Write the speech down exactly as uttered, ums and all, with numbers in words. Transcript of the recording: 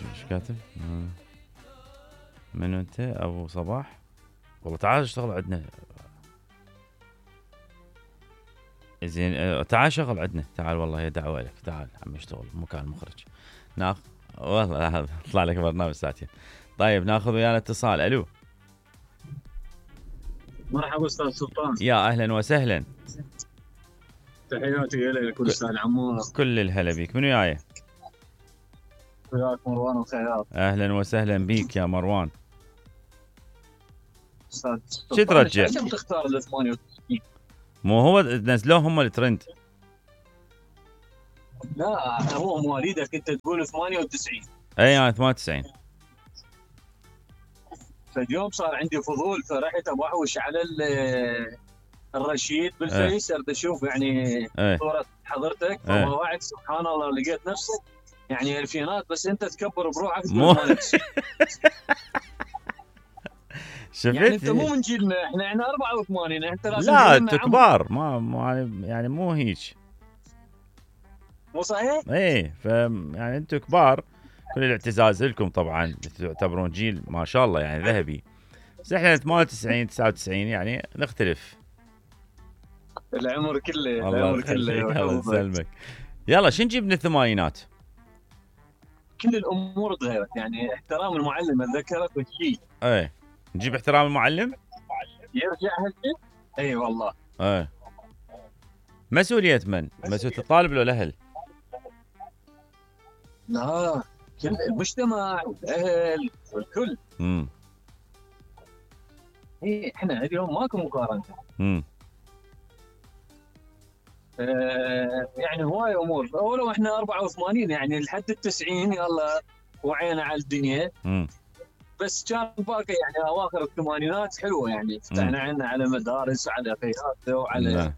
ايش كاتب؟ منو انت؟ ابو صباح؟ والله تعال اشتغل عندنا. زين تعال شغل عندنا، تعال والله هي دعوه لك، تعال عم اشتغل مكان مخرج. ناخذ والله هذا طلع لك برنامج ساعتين. طيب ناخذ ويانا اتصال. الو مرحبا استاذ سلطان. يا اهلا وسهلا. تحياتي لك والاستاذ عمار. كل الهلا بيك. منو وياي؟ وياك مروان الخياط. اهلا وسهلا بيك يا مروان. استاذ شو ترجع؟ ليش تختار ال ثمانية وتسعين؟ مو هو نزلوه هم الترند. لا هو مواليدك انت تقول ثمانية وتسعين. اي انا ثمانية وتسعين. فاليوم صار عندي فضول فرحت ابوحوش على الرشيد بالفيس اريد اشوف يعني ايه. صورة حضرتك ايه. فوعد سبحان الله لقيت نفسك يعني الفينات بس انت تكبر بروحك مو شفت؟ يعني انت مو من جيلنا، احنا احنا أربعة وثمانين انت لازم لا انتوا كبار، ما يعني مو هيك. مو صحيح؟ ايه ف يعني انتوا كبار، كل الاعتزاز لكم طبعا، تعتبرون جيل ما شاء الله يعني ذهبي. بس احنا ثمانية وتسعين تسعة وتسعين يعني نختلف. العمر كله العمر كله. الله يسلمك. يلا شو نجيب من الثمانينات؟ كل الامور تغيرت يعني احترام المعلم اتذكرك والشيء. ايه نجيب احترام المعلم؟ يرجع هالشيء؟ اي والله. ايه مسؤولية من؟ مسؤولية الطالب ولا الاهل؟ لا كل المجتمع والاهل والكل. امم اي احنا اليوم ماكو مقارنه. امم آه يعني هواي امور، ولو احنا أربعة وثمانين يعني لحد التسعين يلا وعينا على الدنيا. امم بس كان باقي يعني اواخر الثمانينات حلوه يعني فتحنا عنا على مدارس وعلى فيات وعلى